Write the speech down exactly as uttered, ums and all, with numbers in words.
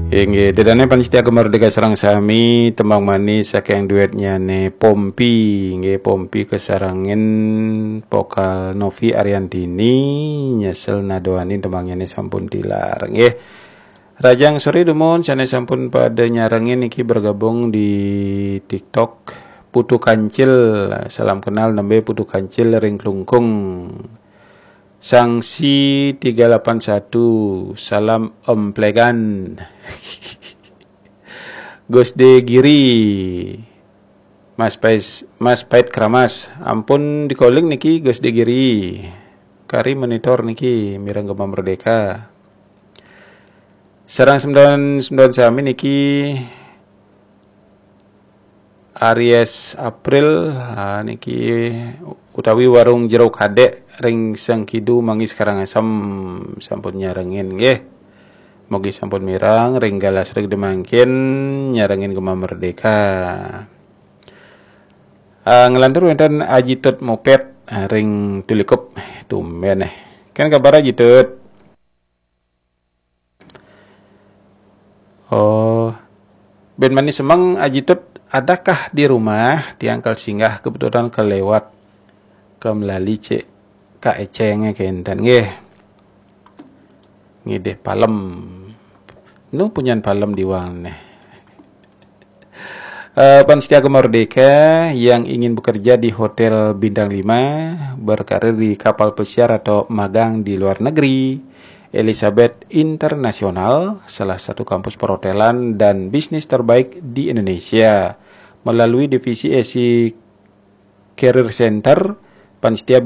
Inggih, dedane pamiarsa Gema Merdeka sareng sami, tembang manis saking duetnyane Pompi, inggih, Pompi kasarengin vokal Novi Ariantini, nyesel nadoanin tembangnyane sampun tilar, inggih. Rajang sore dumun sane sampun pada nyarengin niki bergabung di TikTok. Putu Kancil, salam kenal nembe Putu Kancil ring Klungkung. Sangsi tiga lapan satu, salam emplegan. Gus De Giri, Mas Pais, Mas Pait Keramas, ampun di-calling niki Gus De Giri. Kari monitor niki mireng Gema Merdeka. Sareng semdaun-semdaun sami niki Aries April, ah, niki utawi warung Jero Kadek ring Sengkidu Manggis Karangasem sampun nyarengin nggih. Mugi sampun mireng ring galah sore mangkin nyarengin Gema Merdeka. Ah, nglantur wenten Aji Tut Mopet, ah, ring Tulikup, tumben eh. Kan kabar Aji Tut? Oh, ben mani semeng Aji Tut, adakah di rumah? Tiang kal singgah kebetulan kelewat, ke melali cek Kak Ecenge kenten nggih. Ngidih palem. Nu punyan palem diwang neh. Eh, pamiarsa Gema Merdeka yang ingin bekerja di Hotel Bintang lima, berkarir di kapal pesiar atau magang di luar negeri, Elizabeth International, salah satu kampus perhotelan dan bisnis terbaik di Indonesia. Melalui divisi Asia Career Center, pamiarsa